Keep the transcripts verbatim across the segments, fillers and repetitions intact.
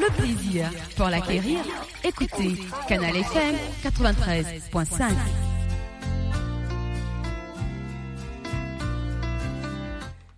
Le plaisir pour l'acquérir, écoutez Canal F M quatre-vingt-treize point cinq.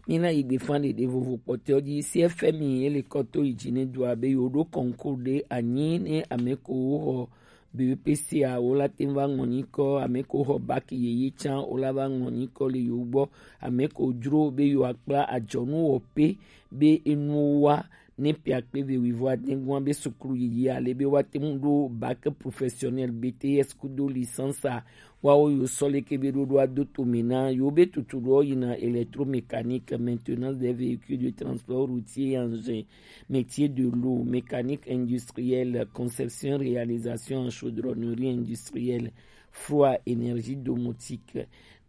Mina yi gbe fan ɖeɖe vovo kpɔtɔ dzi C F M I ele kɔto yi dzi ne do abe yo ɖo concours ɖe anyi ne ame ko wo xɔ B E P C a wo la te va ŋlɔ nyikɔ, ame ko xɔ bac yeye tsã wo la va ŋlɔ nyikɔ le yo gbɔ, ame ko dzro be yo akpla adzɔnu wɔ pe be enu wa ne piakpe ve wivo adegua be suklu yiyi ale be wa te ŋu ɖo bac professionnel B T S kudo licence a wa wo yo sɔ leke be ɖoɖo ado to me na yo be tutu ɖo yina électromécanique, maintenance des véhicules de transport routier et engin, métier de l'eau, mécanique industrielle, conception, réalisation en chaudronnerie industrielle, froid, énergie domotique.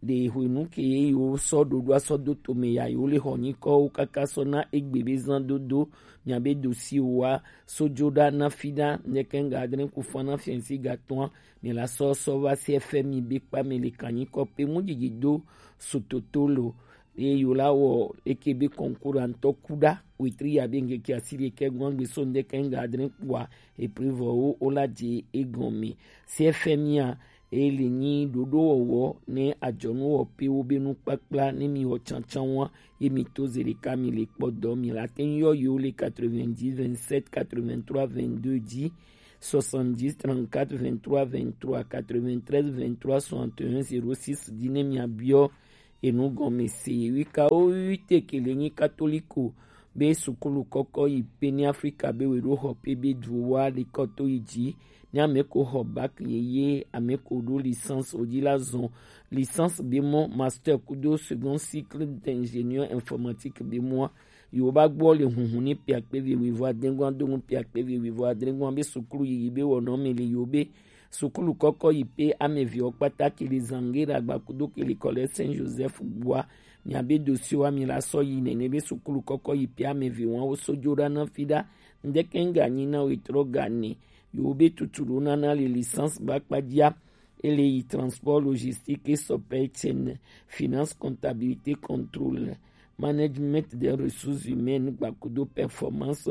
Ɖe hwenu ke ye yo sɔ ɖoɖo asɔ do to me ya yo le xɔ nyikɔwo kaka sɔ na egbe be zan dodo mia be dossier wa so dzo ɖa na fi ɖa ne ke nga adre ku fa na fiansi gatɔa mi la sɔ sɔ va C F M I be kpa me le kan nyikɔ pe mu dzidzi do sototo lo. Ye yo la wɔ eke be concours antɔ ku ɖa wetri ya be ŋkeke asi ɖekɛ gbɔn gbe so ŋdeke ŋga adre kpua eprevɔwo wo la dze egɔme. C F M I a eye le nyi ɖoɖo wɔwɔ ne adzɔnu wɔ pe wo be nukpakpla ne mi wɔ tsantsan wa ye mi to ze ɖeka mi le kpɔ dɔ mi la te ŋ yɔ yo le quatre-vingt-dix vingt-sept quatre-vingt-trois vingt-deux dzi, soixante-dix trente-quatre vingt-trois vingt-trois quatre-vingt-treize vingt-trois soixante et un zéro six dzi ne mia biɔ enu gɔme se. Wikawo wi te ke le nyi katoliko be sukulu kɔkɔ yi pe ni Afrika be we ɖo xɔ pe be du wa le kɔto yi dzi ni ame ko xɔ bac yeye, ame ko ɖo licence o dzi la zɔn licence be mɔ, master kudo second cycle d'ingénieur informatique be mɔ. Yo ba gbɔ le hunhun ni piakpe ve wivo adengua do ŋu piakpe ve wivo adengua be sukulu yiyi be wɔnɔ me le yo be sukulu kɔkɔ yi pe ame ve wo kpata ke le Zangera gbakudo ke le kɔlɛ Saint Joseph gbua. Mia be dossier wa mi la sɔ yi nene be sukulu kɔkɔ yi pe ame ve wa wo so dzo ɖa na fi ɖa. Ŋdeke ŋga nyi na wo etrɔ ga ne yo be tutu ɖo nana le licence ba kpadzia. Ele yi transport, logistique et supply chain, finance, comptabilité, contrôle, management des ressources humaines, gbakudo performance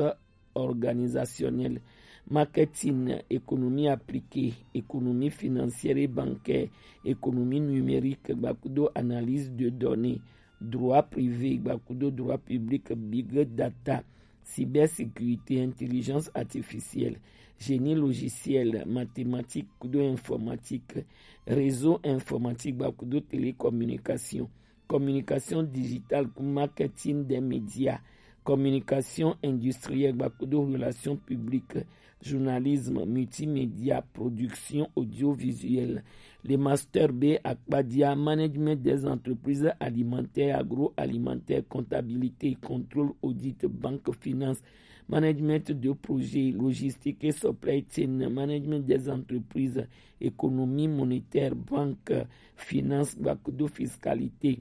organisationnelle, marketing, économie appliquée, économie financière et bancaire, économie numérique, gbakudo analyse de données, droit privé, gbakudo droit public, big data, cybersécurité, intelligence artificielle, génie logiciel, mathématiques kudo informatique, réseau informatique gbakudo télécommunication, communication digitale ku marketing des médias, communication industrielle gbakudo relations publiques, journalisme, multimédia, production audiovisuelle. Le master B akpadia, management des entreprises alimentaires, agroalimentaires, comptabilité, contrôle, audit, banque, finance, management de projets, logistique et supply chain, management des entreprises, économie monétaire, banque, finance, gbakudo fiscalité.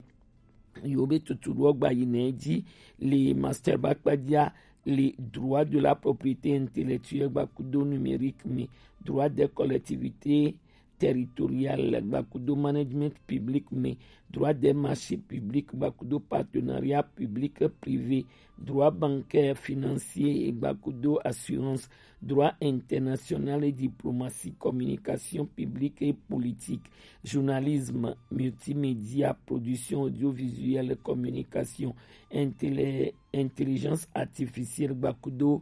Yo be tutu ɖo gba yi ne dzi le master ba kpadia le droit de la propriété intellectuelle gbakudo numérique me, droit des collectivités territoriales gbakudo management public me, droit des marchés publics gbakudo partenariat public privé, droit bancaire financier gbakudo assurance, droit international et diplomatie, communication publique et politique, journalisme, multimédia, production audiovisuelle, communication, intellé- intelligence artificielle gbakudo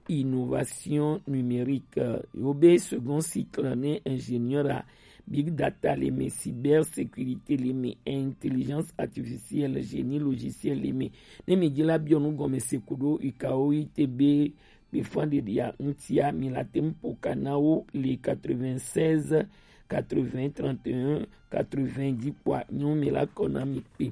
innovation numérique. Yo be second cycle ne ingénieur a big data le me, cybersécurité le me, intelligence artificielle, génie logiciel le me. Ne mi dzi la biɔ nu gɔme se kudo ikawo ite be be fan de dia ŋtia mi la tem poka na wo le quatre-vingt-seize quatre-vingts trente et un quatre-vingts dzi kpɔa nyo mi la kɔ na mi kpe.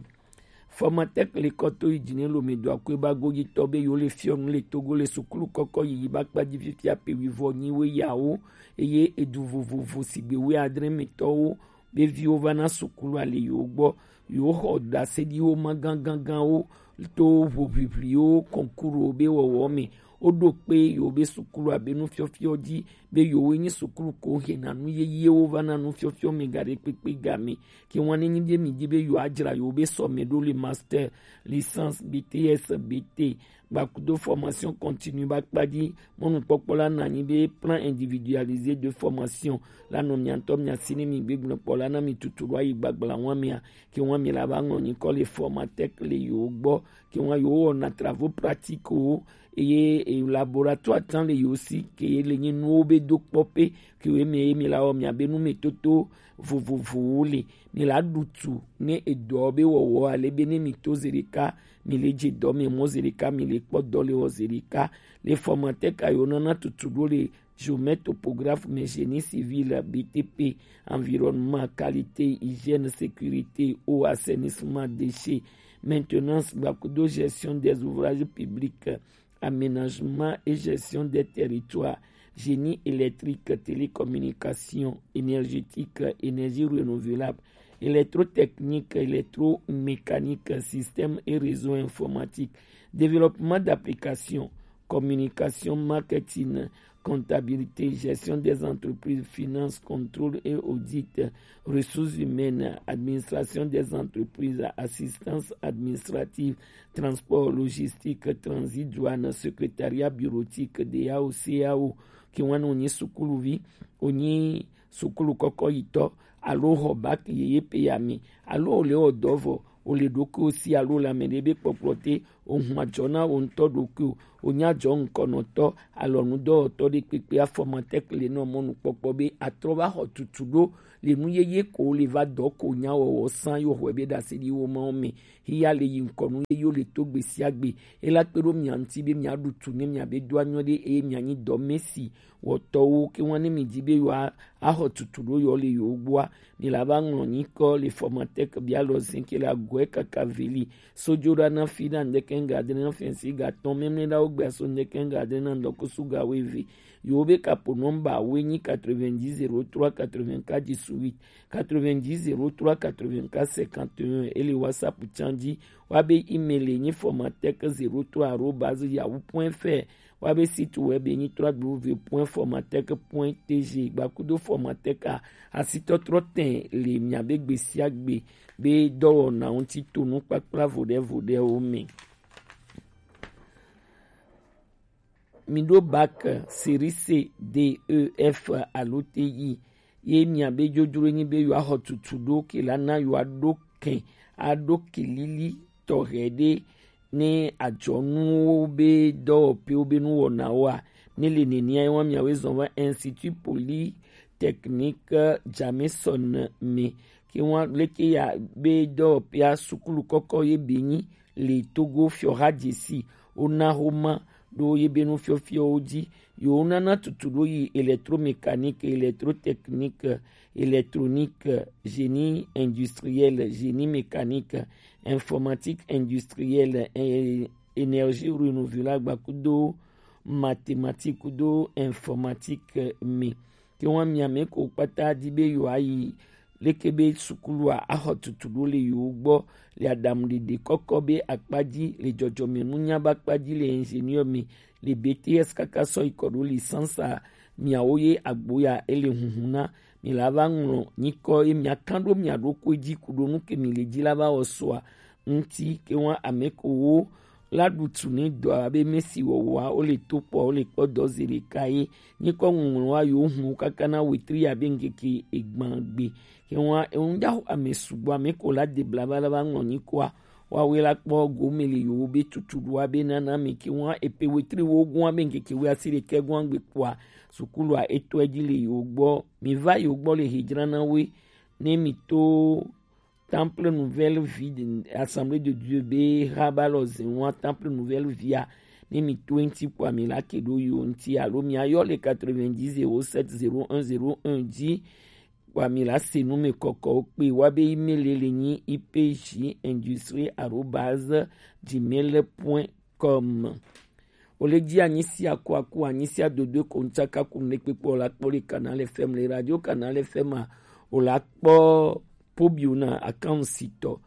Formatec le kɔto yi dzi ne lo me do akɔe ba godzi tɔ be yo le fiɔ nu le Togo le sukulu kɔkɔ yiyi ba kpa dzi fifia pe wi vɔ nyi we yawo eye edu vovovo sigbe we adre me tɔwo be viwo va na sukulu ale yo gbɔ. Yo xɔ ɖaseɖiwo ma ganganganwo to ʋuʋiʋliwo kɔnkuru be wɔwɔ me. Woɖo kpe yewo be sukulu abe nufiɔfiɔ ji, be yewo nyi sukulu ko hena nu yeyewo va na nufiɔfiɔ mɛ gaɖekpekpe game. Ke ŋua ne nyi be mi di be yewo adzra yewo be sɔmɛ ɖo le master, licence, B T S, B T, gbakudo formation continue ba kpa ji, mɔnukpɔkpɔ la na nyi be plan individualisé de formation la nɔ mia ŋutɔ mia si ne mi gbegblẽ kpɔ la na mi tutu ɖo ayi gbagbla ŋua mea, ke ŋua mi la va ŋlɔ nyikɔ le Formatec le yewo gbɔ, ke ŋua yewo wɔna travaux pratiques wo, eye e laboratoire tã le yewo si, ke ye le nyi nuwo be do kpɔ pe, ke wo eme ye mi la wɔ mia be nu me toto vovovowo le, mi la ɖu tu ne edɔ be wɔwɔ ale be ne mi to zeɖeka, mi le dze dɔ me mɔ zeɖeka, mi le kpɔ dɔ le wɔ zeɖeka. Le Formatec a yewo nana tutu ɖo le géomètre topographe, mais génie civil, B T P, environnement, qualité, hygiène, sécurité, eau, assainissement, déchets, maintenance, gbakudo gestion des ouvrages publics, aménagement et gestion des territoires, génie électrique, télécommunication, énergétique, énergie renouvelable, électrotechnique, électromécanique, système et réseau informatique, développement d'applications, communication, marketing, comptabilité, gestion des entreprises, finance, contrôle et audit, ressources humaines, administration des entreprises, assistance administrative, transport, logistique, transit, douane, secrétariat bureautique, D A O, C A O, ke ŋua ne wonyi sukuluvi, wonyi sukulu kɔkɔ yitɔ, alo xɔ bac yeye pe ya mi, alo wole wɔ dɔ vɔ, wole ɖokuiwo si alo le ame ɖe be kpɔkplɔ te, ohun adzɔ na wo ŋutɔ ɖokuiwo, wonye adzɔ ŋkɔnɔtɔ, alɔnudɔwɔtɔ ɖe kpekpe, a Formatec le nɔ mɔnukpɔkpɔ be atrɔ va xɔ tutu ɖo le nu yeye ko le va dɔ ko nya wɔwɔ san yo xɔe be ɖase ɖi wo mawo me. Hiya le yi ŋkɔ nu yeyewo le to gbe sia gbe. Ela kpe ɖo mia ŋuti be mia ɖu tu ne mia be do anyɔ ɖe eye mia nyi dɔ mesi wɔtɔwo ke ŋua ne mi di be yewoa axɔ tutu ɖo yewo le yewo gbɔa, mi la va ŋlɔ nyikɔ le Formatec bia lɔ zin ke le agɔe kaka veli. Sojo ɖa na fi ɖa ŋdeke ŋga adre na fɛnsi ga tɔn mɛmlɛ ɖa wo gbea so ŋdeke ŋga adre na ŋdɔkusu ga wo eve. Yewo be kapo nɔmba woe nyi quatre-vingt-dix zéro trois quatre-vingt-quatre dix-huit, quatre-vingt-dix zéro trois quatre-vingt-quatre cinquante et un, e le WhatsApp tsan ji. Wa be email e nyi formatec zéro trois arobase yahoo point F R. Wa be site web e nyi trois W point formatec point T G. Gbakudo Formatec a, asitɔtrɔ tɛn le mia be gbe sia gbe be dɔwɔna ŋuti to nukpakpla voɖe voɖewo me. Mi ɖo bac série C, D, E, F alo T I ye mia be dzodzro nyi be yewoaxɔ tutu ɖo ke la na yewoaɖo kɛn aɖo kelili tɔxɛ ɖe ne adzɔnuwo be dɔwɔƒewo be nuwɔnawoa, ne le nenia ye wa miawoe zɔn va Institut Polytechnique Jameson me ke wa leke ya be dɔwɔƒea sukulu kɔkɔ ye be nyi le Togo fiɔha dzesi wona xoma ɖo ye be nufiɔfiɔwo dzi. Yewo nana tutu ɖo yi électromécanique, électrotechnique, électronique, génie industriel, génie mécanique, informatique industrielle, é-, énergie renouvelable, kudo mathématique, kudo informatique me. Ke wa mia me ko kpata di be yewoayi leke be sukulua axɔ tutu ɖo le yewo gbɔ le aɖaŋuɖeɖe kɔkɔ be akpa dzi, le dzɔdzɔmenunya be akpa dzi, le ingénieur me, le B T S kaka sɔ yi kɔ ɖo licence a, miawo ye agbo ya ele hunhun na. Mi la va ŋlɔ nyikɔ ye mia kan ɖo mia ɖokui dzi ku ɖo nu ke mi le dzi la va wɔ sɔa ŋuti ke wa ame ko wo la ɖu tu ne dɔa be mesi wɔwɔa wo le to kpɔ wo le kpɔ dɔ ze ɖeka ye. Nyikɔ ŋuŋlɔ wa yewo hun wo kaka na wetri abe ŋkeke egban gbe. Ke wa eŋu dza xo ame sugbɔ ame ko la de bla va la va ŋlɔ nyikɔa wa we la kpɔ gome le yewo be tutu ɖoa be nana mi ke wa epe wetri wo gɔn abe ŋkeke we asi ɖekɛ gɔn gbe kpɔa sukulua etɔ edzi le yewo gbɔ. Mi va yewo gbɔ le hedzra na we ne mi to Temple Nouvelle Vie de Assemblée de Dieu be haba lɔ zen wa Temple Nouvelle Vie a, ne mi to eŋti kpɔa mi la ke ɖo yo ŋti alo mi ayɔ le quatre-vingt-dix zéro sept zéro un zéro un dzi kpɔa mi la se nu me kɔkɔ wo kpe wa be email le nyi I P J industrie arobase gmail point com. Wole dzi anyisia ko aku anyisia dodo ko ŋtsaka ku ne kpekpe la kpɔ le Canal F M le radio Canal F M a, wòle akpɔ pobiu na akansitɔ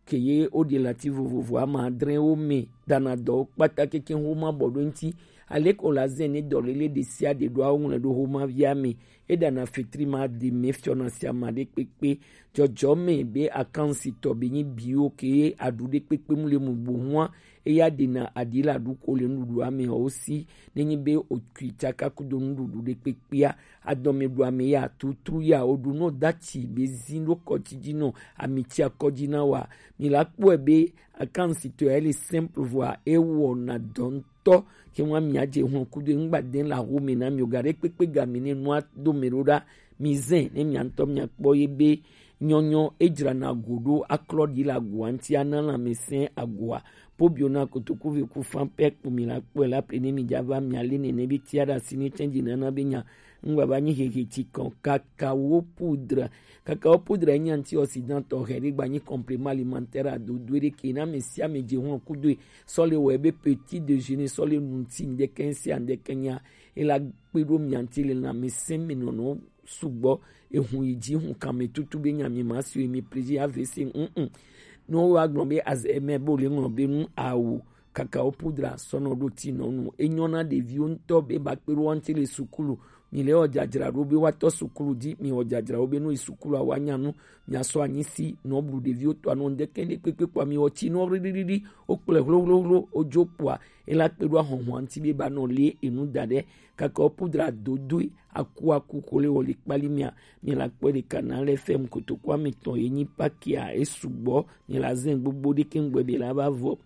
ke ye woɖi lati vovovo ama adre wo me dana dɔwo kpata keke homa bɔ ɖo ŋuti. Aleke wòle azã ne dɔléle ɖe sia ɖe ɖo awo ŋlɔe ɖo homa via me. Eɖana fetri ma ɖi me fiɔna sia ma ɖe kpekpe. Dzɔdzɔme be akansitɔ be nyi biwo ke aɖu ɖe kpekpe mu le mu gbo hua. Eya ɖena aɖi le aɖuko le nuɖuɖua me o si. Nenyi be okui tsaka kudo nuɖuɖu ɖe kpekpea, adɔme ɖu ame ya tutru ya o ɖu no dati be zin ɖo kɔtsi dzi no amitsia kɔdzi na wa. Mi la kpɔe be akansitɔ ya le simple voa ewɔna dɔ ŋutɔ. Ke ŋua miadze hlɔ̃ kudo ŋgba de la ho me na mi o ga ɖe kpekpe ga mi ne nua do me ɖo ɖa. Mi zɛ ne mia ŋutɔ mia kpɔ ye be nyɔnyɔ edzrana go ɖo aklɔ ɖi le agoa ŋuti ana lãmesẽ agoa. Pobio na kotoku ve ku fan pɛ kpo mi la kpɔe la ple ne mi dza va mia le nene be tia ɖe asi ne tsɛ dzi nana be nya ŋgba va nyi hehe tsi kɔn. Kakao poudre. Kakao poudre nyi antioxydant tɔxɛ ɖe gba nyi complément alimentaire adodo ɖe ke na ame sia ame dze hlɔ̃ kudoe. Sɔ le wɔ ebe petit déjeuner sɔ le nu ŋuti ŋdɛkɛ sia ŋdɛkɛ nya. Ela kpe ɖo mia ŋuti le lãmesẽ me nɔnɔ sugbɔ. Ehun yi dzi hun kame tutu be nya mi ma si mi plaisir avc mm. Ne wo wa gblɔ be azeme bo le ŋlɔ be nu awu kakao pudra sɔnɔ ɖo ti nɔ nu enyɔ na ɖeviwo ŋutɔ be ba kpe ɖo wɔnti le sukulu. Mi le wɔ dzadzra ɖo be wa tɔ sukulu dzi mi wɔ dzadzra wo be nu yi sukulu awa nya nu. Mia sɔ anyi si nɔ blu ɖeviwo tɔ anɔ ŋdɛkɛ ne kpekpe kpɔ mi wɔ ti nɔ ɖiɖiɖi. Wo kplɛ hlohlohlo wo dzo kpɔa ela kpe ɖo ahɔhɔa ŋuti be ba nɔ le enu da ɖe. Kakao pudra dodoe aku aku ko le wɔ le kpali mia. Mi la kpɔe ɖeka na lɛ fɛm kotoku ame tɔn ye nyi pakia e sugbɔ. Mi la zɛn gbogbo ɖe ke ŋgbɛ be la va vɔ.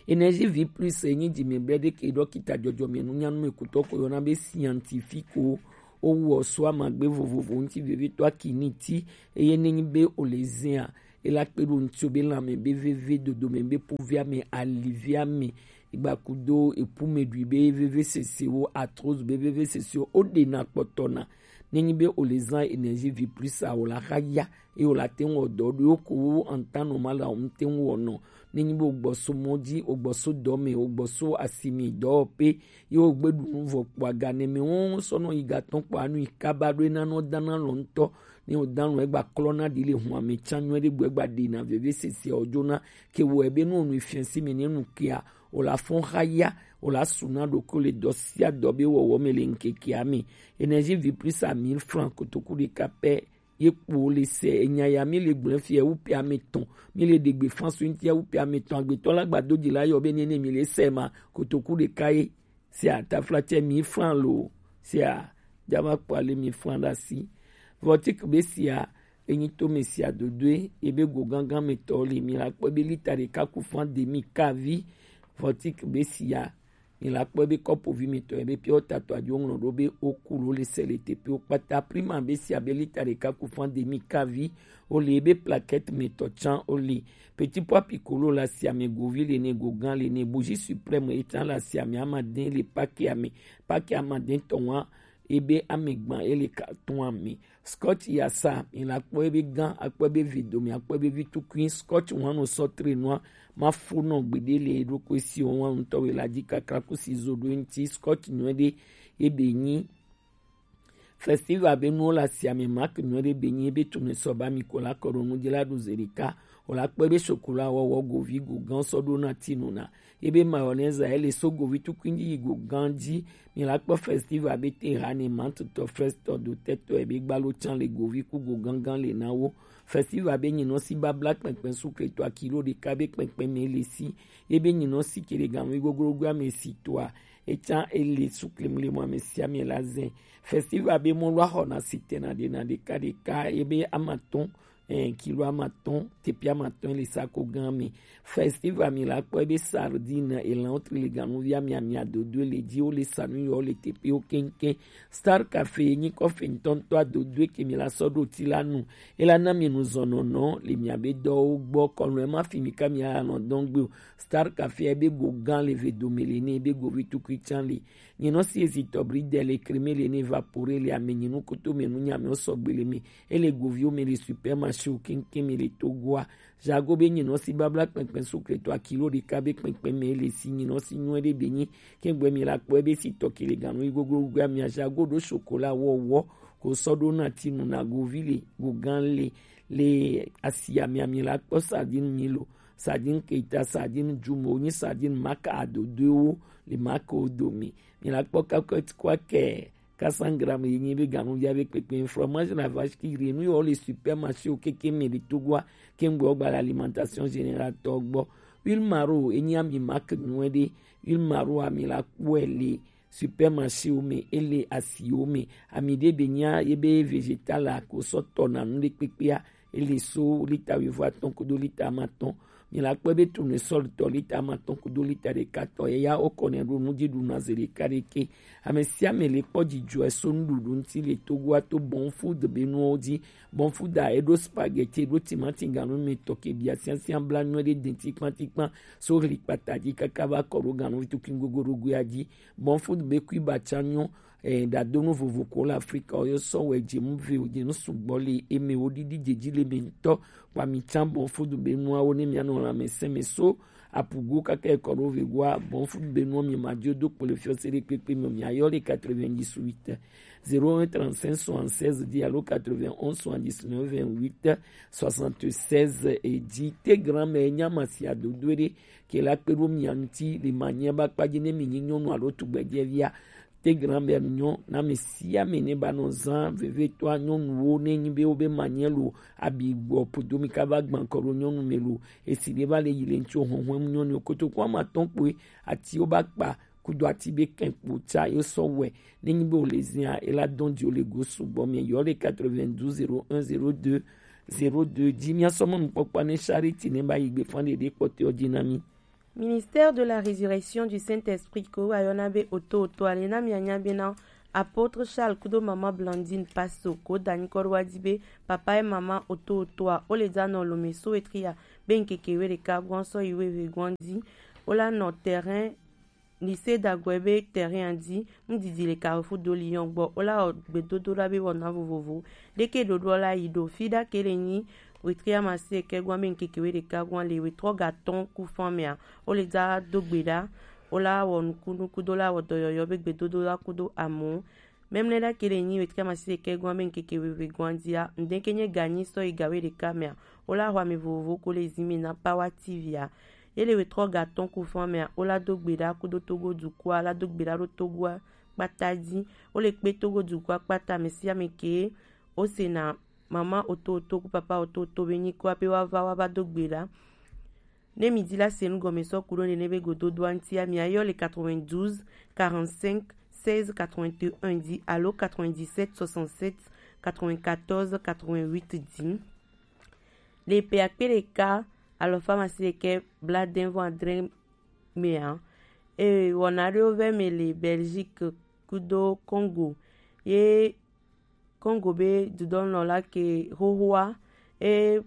Énergie vie plus e nyi dzi mi bɛ ɖe ke ɖɔkita dzɔdzɔme nu nyanu me kutɔ ko yɔna be scientifique o. Wo wɔ so amagbe vovovo ŋuti vevitɔ aki ni ti eye ne nyi be o le zɛa e la kpe ɖo ŋuti o be lãme be veve dodome be povia me alivia me igbakudo epumeɖui be veve sesewo arthrose be veve sesewo o ɖe na kpɔtɔ na. Ne nyi be o le zã énergie vie plus a o la xa ya eye o la te ŋu wɔ dɔ ɖo ko wo ŋtan nɔ ma la o ŋte ŋu wɔ nɔ. Ne nyi be o gbɔ so mɔ dzi o gbɔ so dɔ me o gbɔ so asimi dɔwɔƒe ye o gbe ɖu nu vɔ kpɔ aga ne me wo sɔ nɔ yi gatɔ kpɔ anu yi kaba ɖo ena nɔ dana lɔ ŋutɔ. Ne o dan lɔ egba klɔ na ɖi le hun ame tsa nyuɛ ɖe gbɔ egba ɖe na veve sese o dzona ke wɔ ebe nu o nu fiɛ si me ne nu kea o la fɔn xa ya o la su na ɖokui le dɔ sia dɔ be wɔwɔ me le ŋkekea me. Énergie vie plus à mille francs kotoku ɖeka pɛ ye kpo le se enya ya mi le gblẽ fia wu pe ame tɔn mi le ɖegbe fan so ŋutia wu pe ame tɔn agbetɔ la gbado dzi la yɔ be nene mi le se ma kotoku ɖeka ye. Sia taflatse mi flan lo sia jama kpɔ ale mi flan ɖe asi. Vɔtik be sia enyi to me sia dodoe ebe go gangan me tɔ le mi la kpɔ be lita ɖeka ku fan de mi kavi. Vɔtik be sia mi la kpɔ be kɔpovi mi tɔ ebe pia o tato adzo ŋlɔ ɖo be o ku lo le se le tepe o kpata prima be sia be lita ɖeka ku fan de mi kavi. O le ebe plaquette me tɔ tsan o le. Petit pois piccolo le asiame govi le ne gogan le ne bougie suprême etsa le asiame amadin le pake ame pake amadin tɔn wa ebe amegban ele carton ame. Scotch yasa mi la kpɔ ebe gan akpɔ ebe vi domi akpɔ ebe vi tukui scotch wan no sɔ tre nua ma fo nɔ gbeɖe le eɖokui si o wan ŋutɔ we la dzi kakra kusi zo ɖo eŋuti scotch nyuie ɖe ebe nyi. Festival be nuwo le asiame mak nyuie ɖe be nyi ebe tume sɔ ba mi ko la kɔ ɖo nu dzi la ɖu ze ɖeka. O la kpɔ ebe chocolat wɔwɔ govi go gan sɔ ɖo na ti nu na ebe mayonnaise ele so govi tukui dzi yi go gan dzi. Mi la kpɔ festival be te ha ne mantutɔ frestɔ do tɛtɔ ebe gbalo tsan le govi ku go gangan le na wo. Festival be nyinɔ si babla kpɛnkpɛn sukletɔ akilo ɖeka be kpɛnkpɛn me le si ebe nyinɔ si ke ɖe gan wi goglogo ame si toa etsa ele sukle mu le mu ame sia ame la zɛ. Festival be mɔlu axɔna sitɛna ɖena ɖeka ɖeka ebe amatɔn eh, kilo amatɔn tepi amatɔn le sako gan me. Festival mi la kpɔ ebe sardine elan wotri le ganuvi amiamia dodo le dzi wo le sanu yɔ le tepe wo keŋkeŋ. Star cafe nyi kɔfe ŋutɔŋutɔ adodo eke mi la sɔ ɖo ti la nu ela na mi nu zɔnɔnɔ le miabe dɔwo gbɔ kɔnu ema fi mi ka mi anɔ dɔn gbe o. Star cafe ebe go gan le ve dome le ne ebe go vi tukui tsan le. Nyinɔ si ezitɔ bridel le creme le ne evapore le ame nyinu koto me nu nyame o sɔgbe le me. Ele goviwo me le supermarché wo keŋkeŋ me le Togoa. Jago be nyinɔ si babla kpɛnkpɛn sukletɔ akilo ɖeka be kpɛnkpɛn me le si nyinɔ si nyuie ɖe be nyi. Kɛgbɛ mi la kpɔ ebe si tɔ kele ganu yi goglogo amia jago ɖo chocolat wɔwɔ ko sɔ ɖo na ti nu na govi le gogan le le asia mia mi la kpɔ sardine mi lo. Sardine Keita, sardine Jumo, ni sardine Marc Adodoewo, le Marc Odomi. Mi la kpɔ kakɔ ti kɔ kɛ quatre cents grammes yi nyi be ganuvi abe kpekpe. Fromage la vache qui rit, nu yɔ le supermarché o keke me le Togo a, ke ŋgbe gba l'alimentation générale tɔ gbɔ. Huile Maro, enyi ami Marc nyuie ɖe. Huile Maro ami la kpɔe le supermarché wo me, ele asi wo me. Ami ɖe be nya ye be végétal la ko sɔ tɔ na nu ɖe kpekpea, ele so lita wuivo atɔ̃ kudo lita amatɔ̃. Mi la kpɔe be tournesol tɔ lita amatɔ̃ kudo lita ɖeka tɔ, ye ya wo kɔ nɛ ɖo nu dzi ɖu na ze ɖeka ɖeke. Ame sia ame le kpɔ dzidzɔe so nuɖuɖu ŋuti le Togoa to Bon Food be nuwo dzi. Bon Food a, eɖo spaghetti, eɖo timati ganu me tɔ ke bia siasia bla nyuie ɖe denti kpantikpan so ɣli kpata dzi kaka va kɔ ɖo ganu tukui gogoɖogoea dzi. Bon Food be kui ba tsa nyɔ, eh, ɖadonu vovo ko le Afrika, wo sɔ wɛ dze nu ve, dze nu sugbɔ le eme, wo ɖiɖi dze dzi le me ŋutɔ. Kpa mi tsa Bon Food be nuawo ne mia nɔ lãmesẽ me so apugo kaka ekɔ ɖo vegoa. Bon Food be nuwo mi ma dzo do kpo le fiɔ se ɖe kpekpe me, mia yɔ le quatre-vingt-dix-huit, zéro un trente-cinq soixante-seize dix alo quatre-vingt-onze soixante-dix-neuf vingt-huit soixante-seize. E dzi te grand me nya ma si adodo ɖe ke la kpe ɖo mia ŋuti le ma nya ba kpa dzi ne mi nyi nyɔnu alo tugbedzevia. Te grand me nyɔ na ame sia ame ne ba nɔ zã vevetɔa nyɔnuwo ne nyi be wo be ma nye lo abi gbɔ podo mi ka va gbã kɔ ɖo nyɔnu me lo. Esi ɖe va le yi le ŋtsi o hɔnhɔn mu nyɔnu kotoku ama tɔn kpoe ati wo ba kpa kudo ati be kɛn kpo tsa yo sɔ wɛ. Ne nyi be o le zia e la dɔn di o le go sugbɔ mi yɔ le quatre-vingt-douze zéro un zéro deux zéro deux dzi. Mia sɔ mɔnu kpɔkpɔ ne Charity ne ba yi gbe fan ɖe ɖe kpɔtɔ dzi na mi. Ministère de la Résurrection du Saint-Esprit ko wayɔna be oto oto ale na mia nya be na Apôtre Charles kudo maman Blandine Paso ko da nyikɔ ɖo wa di be papa et maman oto oto a o le da nɔ lome so wetria be ŋkeke we ɖeka gɔn sɔ yi we ve gɔn di. O la nɔ terrain lycée dagɔe be terrain a di. Ŋdidi le Carrefour do Lyon gbɔ. O la wɔ gbedodoɖa be wɔna vovovo ɖeke ɖoɖoɔ la yi ɖo fi ɖa ke le nyi wetri amasi eke gɔn be ŋkeke we ɖeka gɔn le wetrɔ ga tɔn ku fan mea. O le da do gbe ɖa. O la wɔ nukunuku do la wɔ dɔyɔyɔ be gbedodoɖa kudo amu. Memle ɖa ke le nyi wetri amasi eke gɔn be ŋkeke we ve gɔn dia ŋdeke nye ganyi sɔ yi ga we ɖeka mea. O la xɔ ame vovovo ko le zi me na Power T V a. Ye le wetrɔ ga tɔn ku fan mea, o la do gbe ɖa kudo Togo dukɔa, la do gbe ɖa ɖo Togoa kpata dzi. O le kpe Togo dukɔa kpata ame sia ame ke o se na mama oto oto ku papa oto oto be nyikɔa pe wa va wa va do gbe ɖa. Ne mi di la se nu gɔme sɔ ku ɖo nene be gododoa ŋtia, mi ayɔ le quatre-vingt-douze quarante-cinq seize quatre-vingt-un di alo quatre-vingt-dix-sept soixante-sept quatre-vingt-quatorze quatre-vingt-huit di. Le pe akpe ɖeka alɔfa amasiɖekɛ blaadɛnvɔ adre mea, e wɔna ɖewo vɛ me le Belgique kudo Congo. Ye Congo be dudɔnɔ la ke xoxoa e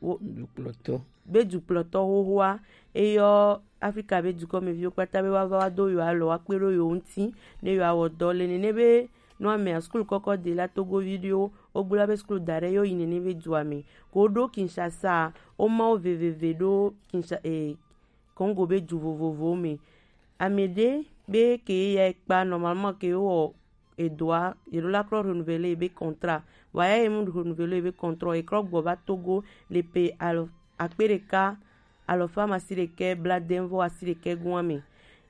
wo- dukplɔtɔ be dukplɔtɔ xoxoa eyɔ Afrika be dukɔmeviwo kpata be woava wa do yewo alɔ wa kpe ɖo yewo ŋuti ne yewo awɔ dɔ le nene be nua mea skul kɔkɔ de la Togovi ɖewo wogblɔ be skul da ɖe yewo yi nene be dua me ko ɖo Kinshasa wo ma wo veveve ɖo Kinsha eh, Congo be du vovovowo me. Ame ɖe be ke ya kpa normalement ke wɔ edɔa yeɖo la klɔ renouveler ebe contrat. Wa ya ye mu renouveler ebe contrat, e klɔ gbɔ va Togo le pe alo akpe ɖeka alɔfa amasiɖekɛ blaadɛnvɔ asiɖekɛ gɔn me.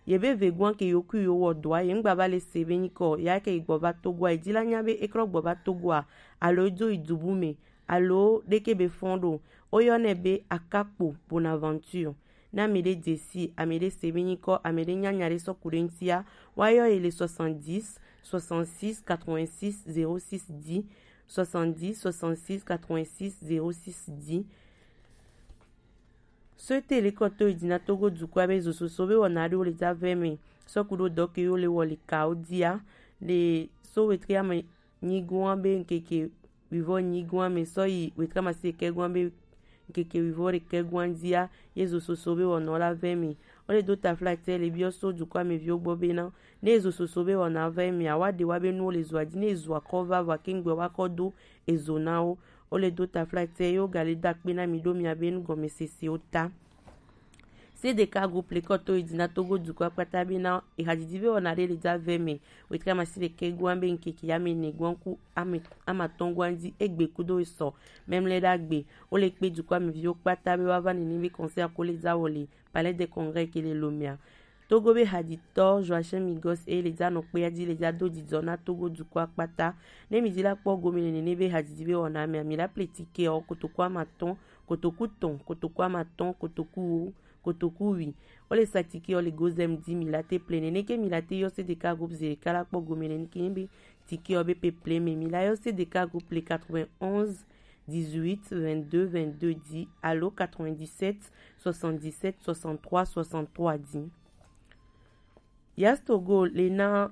Ye be ve gɔn ke yo ku yo wɔ dɔa ye ŋgba va le se be nyikɔ ya ke yi gbɔ va Togo a, e di la nya be e klɔ gbɔ va Togo a alo e dzo yi du bu me alo ɖeke be fɔn ɖo. Wo yɔnɛ be Akakpo Bonaventure. Ne ame ɖe dze si, ame ɖe se be nyikɔ, ame ɖe nya nya ɖe sɔ ku ɖe ŋutia, woayɔ ye le soixante-dix soixante-six quatre-vingt-six zéro six dix, soixante-dix soixante-six quatre-vingt-six zéro six dix. Sɔte le kɔtɔ yi dina Togo dukɔa be zososo be wɔna ɖewo le da vɛ me sɔ ku ɖo dɔ ke yo le wɔ le kawo dia le so wetri ame nyigoa be ŋkeke wivɔ nyigoa me sɔ yi wetri amasiɖekɛ goa be ŋkeke wivɔ ɖekɛ goa dia ye zososo be wɔna la vɛ me. Wo le do taflatɛ le biɔ so dukɔa me viwo gbɔ be na ne ye zososo be wɔna vɛ me awa ɖe wa be nuwo le zua di ne ye zua kɔ va vɔ ke ŋgbe wa kɔ do ezo na wo. Wo le do taflatɛ ye wo ga le da kpe na mi ɖo mia be nu gɔme sese wo ta. T D K groupe le kɔ to yi di na Togo dukɔ akpata be na ehadidi be wɔna ɖe le dza vɛ mɛ. Wetri amasi ɖekɛ gua be ŋkeke ame ne gua ku ame amatɔn gua di egbe kudo esɔ mɛmlɛ ɖagbe. Wo le kpe dukɔ ameviwo kpata be wa va nene be concert ko le dza wɔ le Palais des Congrès ke le Lomea. Togo be haditɔ Joachim Migos e le dza nɔ kpea di le dza do didɔ na Togo dukɔ akpata. Ne mi di la kpɔ gome le nene be hadidi be wɔna mɛ, mi la ple tike ɔ kotoku amatɔn, kotoku tɔn, kotoku amatɔn, kotoku wo, kotoku wi. Wo le sa tike ɔ le Gozem di mi la te ple nene ke mi la te yɔ C D K groupe zere ka la kpɔ gome le nike be tike ɔ be pe ple me mi la yɔ C D K groupe le quatre-vingt-onze dix-huit vingt-deux vingt-deux di alo quatre-vingt-dix-sept soixante-dix-sept soixante-trois soixante-trois di. Yas Togo le na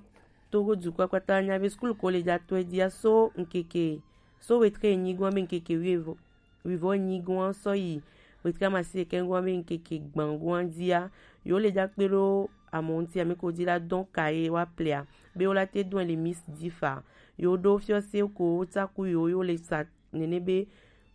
Togo dukɔ kpata nya be skul ko le dza tɔe dia so ŋkeke so wetre enyi gɔn be ŋkeke wievɔ wivɔ nyi gɔn sɔ yi wetre amasi ɖekɛ gɔn be ŋkeke gban gɔn dia yo le dza kpe ɖo amɔ ŋuti ame ko di la dɔn ka ye wa plea be wo la te dɔn le mis di fa yo ɖo fiɔ se ko wo tsaku yo yo le sa nene be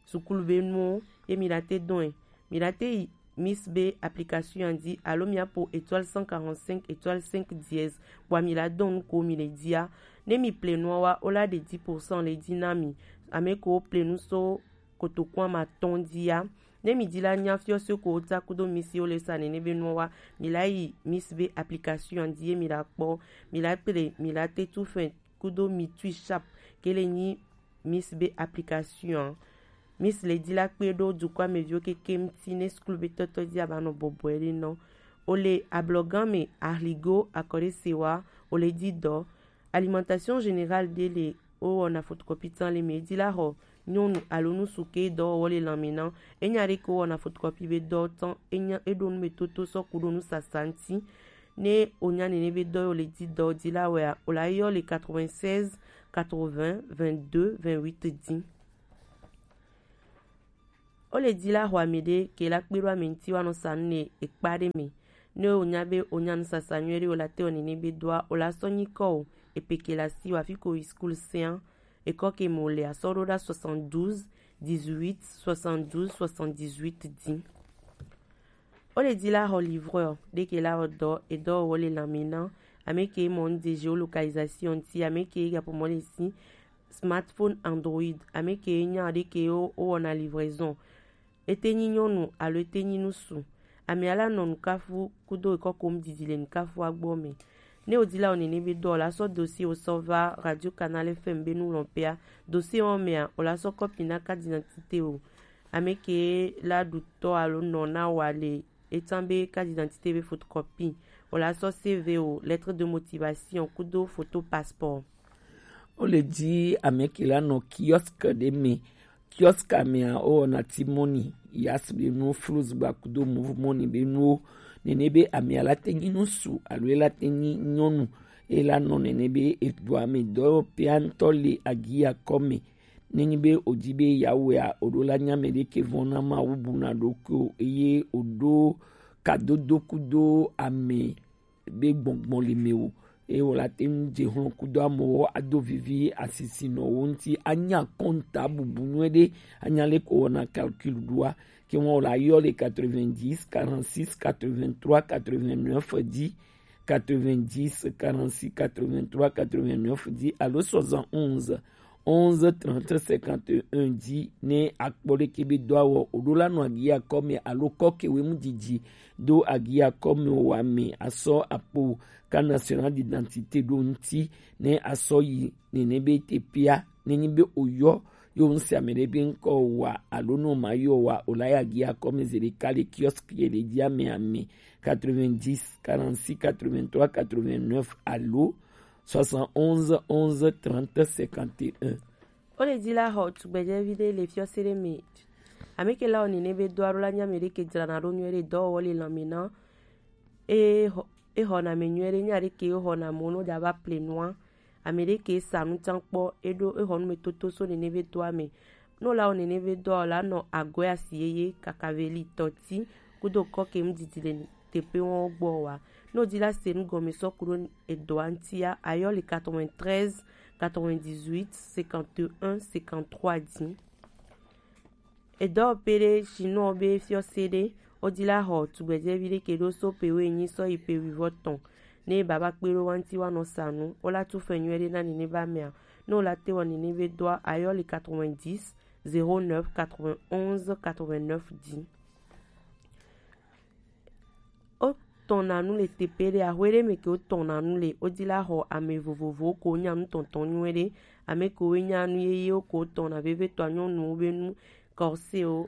sukulu be nuwo ye mi la te dɔn ɛ mi la te yi mis be application ya di alo mi apo étoile cent quarante-cinq étoile cinq dièse bua mi la dɔn nu ko mi le dia ne mi ple nua wa o la ɖe dix pour cent le di na mi ame ko wo ple nu so kotoku amatɔn dia ne mi di la nya fiɔ so ko wo ta kudo mis yo le sa nene be nua wa mi la yi mis be application ya di ye mi la kpɔ mi la ple mi la te tu fɛn kudo mi tui sharp ke le nyi mis be application. Mis le di la kpe ɖo dukɔ ameviwo keke ŋuti ne skul be tɔtɔ di aba nɔ bɔbɔe ɖe nɔ. O le ablɔgan me ahligo akɔɖe sewa o le di dɔ. Alimentation générale ɖe le wo wɔna photocopie tan le me di la xɔ nyɔnu alo ŋutsu ke dɔwɔwɔ le lanme na. Enya ɖe ke wo wɔna photocopie be dɔ tɔn enya eɖo nu me toto sɔ ku ɖo nu sasa ŋuti. Ne o nya nene be dɔ yo le di dɔ di la wɛa o la yɔ le quatre-vingt-seize quatre-vingts vingt-deux vingt-huit di. O le di la xɔ ame ɖe ke la kpe ɖo ame ŋuti wa nɔ sa nu ne ekpa ɖe me. Ne o nya be o nya nu sasa nyuie ɖe o la te wɔ nene be dɔa o la sɔ nyi kɔ o epe ke la si wa fi ko yi skul sia ekɔ ke mo le asɔ ɖo ɖa soixante-douze dix-huit soixante-douze soixante-dix-huit di. O le di la xɔ livreur ɖe ke la wɔ dɔ edɔ wɔ le lanme na ame ke mɔ nu de géolocalisation ti ame ke gapo mɔ le si smartphone Android ame ke nya ɖe ke wo wɔna livraison. Ete nyi nyɔnu alo ete nyi ŋutsu. Ame ala nɔ nukafu kudo ekɔ kom didi le nukafua gbɔ me. Ne o di la o nene be dɔ la sɔ dossier o sɔ va Radio Canal F M be nu lɔn pea. Dossier wɔ mea o la sɔ kɔpi na carte d'identité o. Ame ke la ɖu tɔ alo nɔ na wa le etan be carte d'identité be photocopie. O la sɔ C V o, lettre de motivation kudo photo passeport. O le di ame ke la nɔ kiosque ɖe me. Kiosque mea o wɔna ti mɔni yas be nu flus gba kudo move mɔni be nuwo. Nene be amea la te nyi ŋutsu alo e la te nyi nyɔnu e la nɔ nene be edoa me dɔ pea ŋutɔ le agia kɔ me. Nenyi be o di be ya wɔea o ɖo la nya me ɖe ke vɔn na Mawu bu na ɖokui o eye o ɖo kadodo kudo ame be gbɔngbɔn le me o. Eye wɔ la te ŋu dze hlɔ̃ kudo amewo ado vivi asisinɔwo ŋuti anya kɔnta bubu nyuie ɖe anya le ko wɔna calcul ɖoa. Ke wɔn wɔ la yɔ le quatre-vingt-dix quarante-six quatre-vingt-trois quatre-vingt-neuf di quatre-vingt-dix quarante-six quatre-vingt-trois quatre-vingt-neuf di alo soixante-onze onze trente cinquante et un di ne akpɔ ɖeke be do awɔ o ɖo la nɔ agi akɔ me alo kɔ ke wemu didi do agi akɔ me o wa me asɔ akpo ka national d'identité ɖo ŋuti ne asɔ yi nene be te pia ne nyi be o yɔ yo ŋsi ame ɖe be ŋkɔ wa alo no ma yɔ wa o la ya agi akɔ me ze ɖeka le kiosque ye le di ame ame quatre-vingt-dix quarante-six quatre-vingt-trois quatre-vingt-neuf alo soixante-onze onze trente cinquante et un. O le di la xɔ tugbedzɛvi ɖe le fiɔse ɖe me. Ame ke la wɔ nene be do alo la nye ame ɖe ke dzrana ɖo nyuie ɖe dɔwɔwɔ le lãme na. E xɔ e xɔna ame nyuie ɖe nya ɖe ke e xɔna mo no dza va ple nua. Ame ɖe ke sa nu tsan kpɔ eɖo exɔ nu me toto so nene be doa me. Ne wòle awɔ nene be dɔa o la nɔ agɔe asi yeye kaka veli tɔti kudo kɔke ŋdidi le teƒe wɔwo gbɔ wa. Ne wòdi la se nu gɔme sɔ ku ɖo edɔa ŋutia, ayɔ le quatre-vingt-treize quatre-vingt-dix-huit cinquante et un cinquante-trois dzi. Edɔwɔƒe ɖe shinɔ be fiɔse ɖe Wo di la xɔ tugbɛjɛvi ɖe ke ɖo so pe woenyi sɔ yi pe wivɔ tɔn. Ne baba kpe ɖo wa ŋuti wa nɔ sa nu, wo la tu fɛn nyuie ɖe na nene ba mɛa. Ne wo la te wɔ nene be doa, ayɔ le quatre-vingt-dix, zéro neuf, quatre-vingt-onze, quatre-vingt-neuf di. Wo tɔn na nu le tepe ɖe, ahwe ɖe me ke wo tɔn na nu le, wo di la xɔ ame vovovowo ko nya nu tɔntɔn nyuie ɖe, ame ko wo nya nu yeyewo ko wo tɔn na vevetɔ nyɔnuwo be nu, kɔsewo,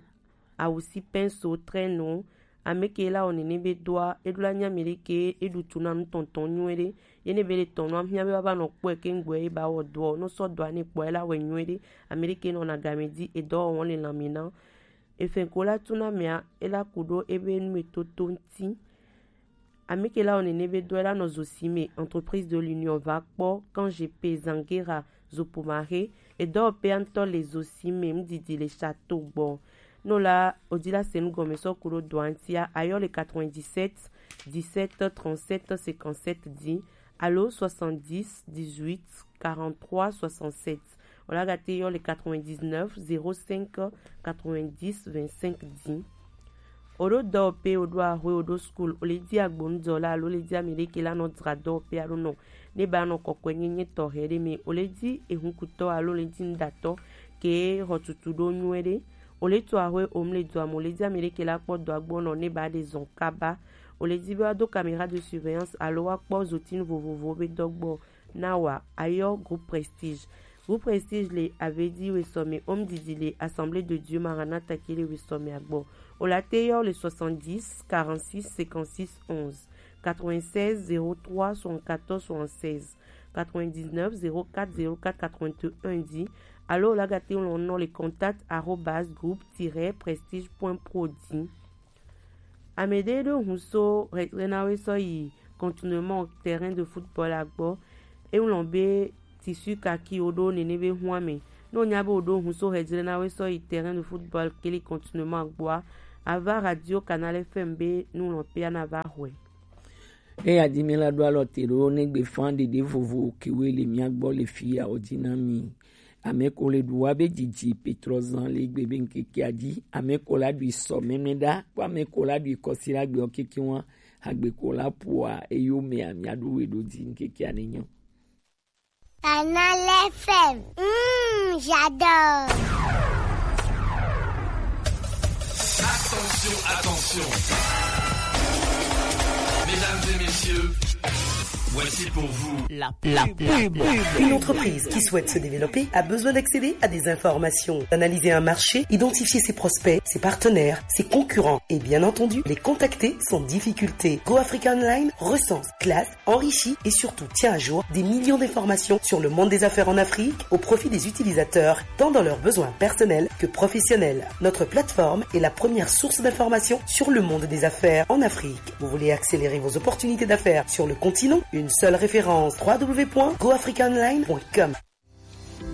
awu si pinceau, traîneau, ame ke la wɔ nene be doa, e ɖo la nya mi ɖe ke e ɖu tu na nu tɔntɔn nyuie ɖe, ye ne be le tɔn nua, mia be wa va nɔ kpɔe ke ŋgbɔe e ba wɔ doɔ, no sɔ doa ne kpɔe la wɛ nyuie ɖe, ame ɖe ke nɔ na game di, e dɔ wɔn le lanme na. Efɛn ko la tu na mɛa, e la ku ɖo ebe nu me toto ŋuti. Ame ke la wɔ nene be doa, e la nɔ zo si me, entreprise de l'union va kpɔ, kan je pe zangera, zo pomare, e dɔ pe antɔ le zo si me, ŋdidi le château gbɔ. No la, o di la se nu gɔme sɔ ku ɖo doa ŋutia, ayɔ le quatre-vingt-dix-sept, dix-sept, trente-sept, cinquante-sept di, alo soixante-dix, dix-huit, quarante-trois, soixante-sept. O la ga te yɔ le quatre-vingt-dix-neuf, zéro cinq, quatre-vingt-dix, vingt-cinq di. O ɖo dɔwɔƒe, o ɖo ahwe, o ɖo school, o le di agbonudɔla alo o le di ame ɖe ke la nɔ dzra dɔwɔƒe alo nɔ ne ba nɔ kɔkɔe nyenye tɔxɛ ɖe me, o le di ehunkutɔ alo o le di nuɖatɔ ke xɔ tutu ɖo nyuie ɖe. O le to ahwe, o mle dɔa me, o le di ame ɖe ke la kpɔ dɔa gbɔ nɔ ne ba ɖe zɔn kaba. O le di be wa do caméra de surveillance alo wa kpɔ zotinu vovovowo be dɔ gbɔ. Na wa, ayɔ groupe Prestige. Groupe Prestige le avedi wesɔme, home didi le Assemblée de Dieu Maranatha ke le wesɔme agbɔ. O la te yɔ le soixante-dix, quarante-six, cinquante-six, onze, quatre-vingt-seize, zéro trois, soixante-quatorze, soixante-seize, quatre-vingt-dix-neuf, zéro quatre, zéro quatre, quatre-vingt-un di. Alo o la ga te lɔn nɔ le contact arobase groupe tiret prestige point pro di. Ame ɖe ɖo hun so hɛdrena we sɔ yi contournement terrain de football agbɔ. Eŋlɔ be tissu kaki wo ɖo nene be hun ame. Ne o nya be o ɖo hun so hɛdrena we sɔ yi terrain de football kele contournement agbɔa, ava radio Canal F M be nulɔƒea na va xɔe. Eya di mi la ɖo alɔ te ɖo ne gbe fan ɖeɖe vovo ke we le mia gbɔ le fi ya o di na mi. Ame ko le ɖu wa be dzidzi petrɔ zan le gbe be ŋkekea dzi. Ame ko la ɖui sɔ mɛmɛ ɖa, kpo ame ko la ɖui kɔsi la gbe ɔ keke wa. Agbe ko la pua eyo mea mia ɖu we ɖo di ŋkekea ne nyɔ. Canal F M. Mm, j'adore. Attention, attention. Mesdames et messieurs, voici pour vous la, la pub. Une entreprise qui souhaite se développer a besoin d'accéder à des informations, d'analyser un marché, identifier ses prospects, ses partenaires, ses concurrents et bien entendu les contacter sans difficulté. Go Africa Online recense, classe, enrichit et surtout tient à jour des millions d'informations sur le monde des affaires en Afrique au profit des utilisateurs, tant dans leurs besoins personnels que professionnels. Notre plateforme est la première source d'information sur le monde des affaires en Afrique. Vous voulez accélérer vos opportunités d'affaires sur le continent ? Une seule référence, trois w point go africa online point com.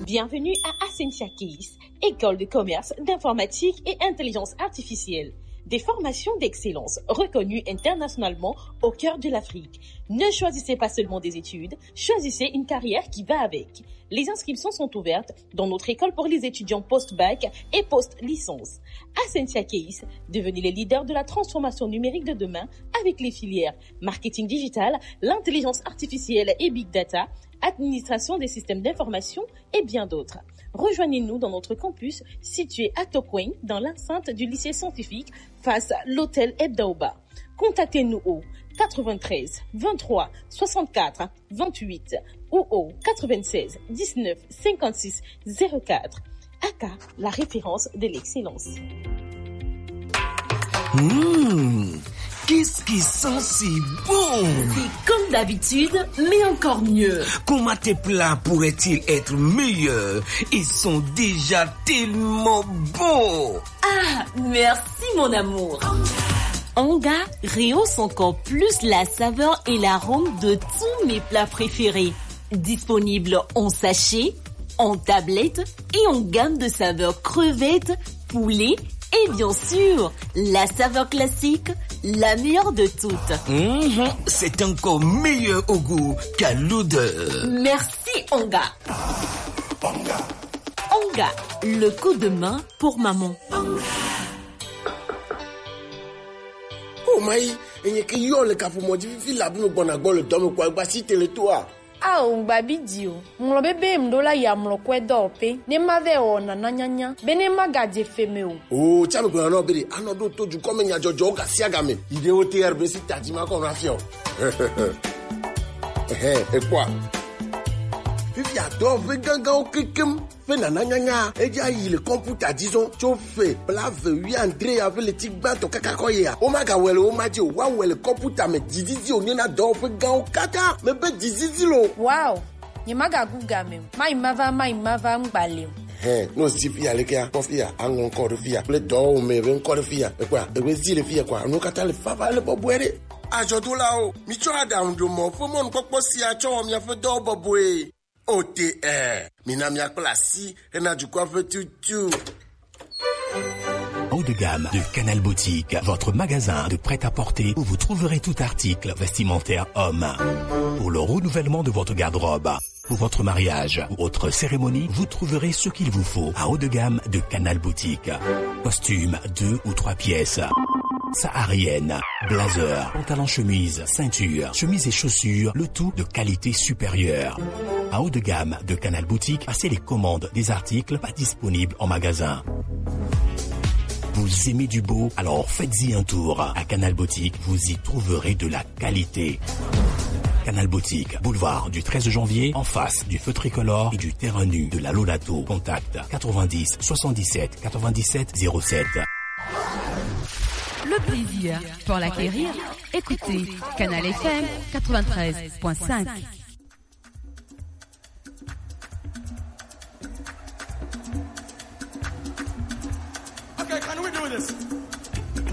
Bienvenue à Ascensia Case, école de commerce, d'informatique et intelligence artificielle. Des formations d'excellence reconnues internationalement au cœur de l'Afrique. Ne choisissez pas seulement des études, choisissez une carrière qui va avec. Les inscriptions sont ouvertes dans notre école pour les étudiants post-bac et post-licence. Ascensia Case, devenez les leaders de la transformation numérique de demain avec les filières marketing digital, l'intelligence artificielle et big data, administration des systèmes d'information et bien d'autres. Rejoignez-nous dans notre campus situé à Tokweng, dans l'enceinte du lycée scientifique, face à l'hôtel Ebdaoba. Contactez-nous au quatre-vingt-treize, vingt-trois, soixante-quatre, vingt-huit ou au quatre-vingt-seize, dix-neuf, cinquante-six, zéro quatre. Aka, la référence de l'excellence. Mmh, qu'est-ce qui sent si bon ? C'est comme d'habitude, mais encore mieux. Comment tes plats pourraient-ils être meilleurs ? Ils sont déjà tellement bons. Ah, merci mon amour. Anga rehausse encore plus la saveur et l'arôme de tous mes plats préférés. Disponible en sachet, en tablette et en gamme de saveurs crevettes, poulet et bien sûr, la saveur classique, la meilleure de toutes. Mhm, c'est encore meilleur au goût qu'à l'odeur. Merci Anga. Anga, le coup de main pour maman. Mayi, enye ke yɔ le kaƒomɔ dzi fifi labe me gbɔna gbɔ le dɔ me kpɔ egba si tele toa. Ao, ŋgba bi di o. Ŋlɔ be be ŋɖo la ya mlɔ kɔe dɔwɔƒe. Ne ma vɛ wɔ nana nyanya. Be ne ma gadze fe me o. O, tsa me gblɔna nɔ be ɖe, anɔ ɖo to dukɔ me nyadzɔdzɔwo gasiagame. Yi ɖe wo T R B si tadzi ma kɔ nɔ afia o. Ɛhɛ, ekpɔa. Fifia dɔwɔƒe gãgãwo kekem. Ƒe nana nyanya, edza yi le kɔmputa dzi zɔn tso ƒe blaeve wuiadre ya ƒe ɣleti gbãtɔ kaka kɔ yia. Womagawɔe le wo ma dzi o, woawɔe le kɔmputa me dzizizi wònye na dɔwɔƒe gãwo katã. Mebe dzizizi lo. Wow, nyemagagu game o. Mayi mava, mayi mava ŋgba le o. Hɛn, ne wòsi fiya lekea, kpɔ fiya, aŋlɔ ŋkɔ ɖe fiya kple dɔwɔwome ƒe ŋkɔ ɖe fiya. Ekpɔa, ewoe zi le fiya kɔa, enuwo katã le vava le bɔbɔe ɖe. Adzɔdolawo, mitsɔ aɖaŋuɖomɔ ƒe mɔnukpɔkpɔ sia tsɔ wɔ miaƒe dɔwo bɔbɔe. O T R, mina miakpla asi hena dukɔa ƒe tutu. Haut de gamme de Canal Boutique, votre magasin de prêt-à-porter où vous trouverez tout article vestimentaire homme. Pour le renouvellement de votre garde-robe, pour votre mariage ou autre cérémonie, vous trouverez ce qu'il vous faut à haut de gamme de Canal Boutique. Costume, deux ou trois pièces. Saharienne, blazer, pantalon chemise, ceinture, chemise et chaussures, le tout de qualité supérieure. À haut de gamme de Canal Boutique, passez les commandes des articles pas disponibles en magasin. Vous aimez du beau ? Alors faites-y un tour. À Canal Boutique, vous y trouverez de la qualité. Canal Boutique, boulevard du treize janvier, en face du feu tricolore et du terrain nu de la Lolato. Contact quatre-vingt-dix soixante-dix-sept quatre-vingt-dix-sept zéro sept. Le plaisir pour l'acquérir, écoutez Canal F M quatre-vingt-treize point cinq. Okay, can we do this?